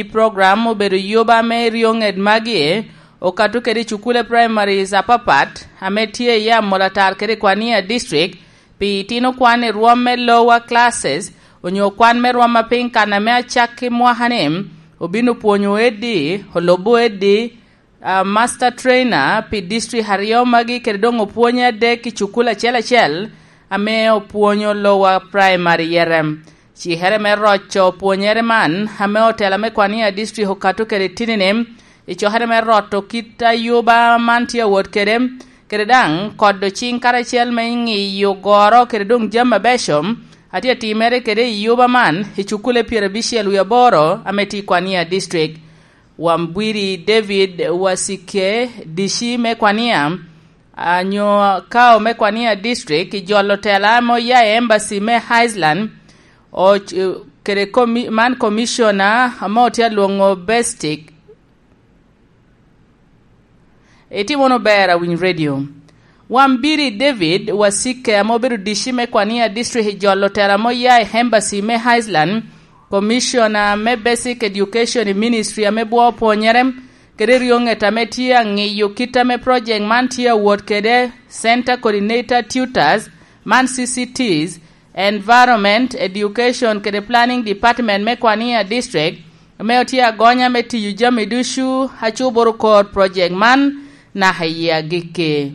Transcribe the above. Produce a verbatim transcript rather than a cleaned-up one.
I program obedo yoba me ryoŋet magi okato kede i cukule primaries apapat ame tye i Amolatar kede i Kwania District pi itino kwan i rwom me lower classes onyo kwan me rwom apiny kan ame acak i mwaka-ni obino pwonyo edi, olubo edi, a, master trainer pi district aryo magi kede doŋ opwonye adek i cukul acel acel ame opwonyo lower primary yere. Cikere me roco pwonyere man ame otela me Kwania District okato kede tinini i cokere me roto kit ayuba man tye awot kede, kede daŋ kodo cing karacel me ŋiyo goro kede doŋ jami abeco atye atimere kede i yuba man i cukule pyerabicel wie aboro ame tye i Kwania District. Wambwiri David Wasike, dici me Kwania, anyo kao me Kwania District, i jolo tela ame oya i embassy me Iceland, o-, kede komi-, man commissioner ame otye alwoŋo Bestic. Itimo wunu ber, Awiny Radio. Wambiri David Wasike ame obedo dici me Kwania District i jolo tela ame oya i embassy me Iceland, commissioner me Basic Education i Ministry ame bwo pwonyere, kede ryoŋet ame tye aŋiyo kit ame project man tye awot kede, Center Coordinator Tutors, man C C Ts, Environment, Education kede Planning Department me Kwania District, ame otye agonya me tiyo jami ducu a cuboro kor project man naka i yie agikki.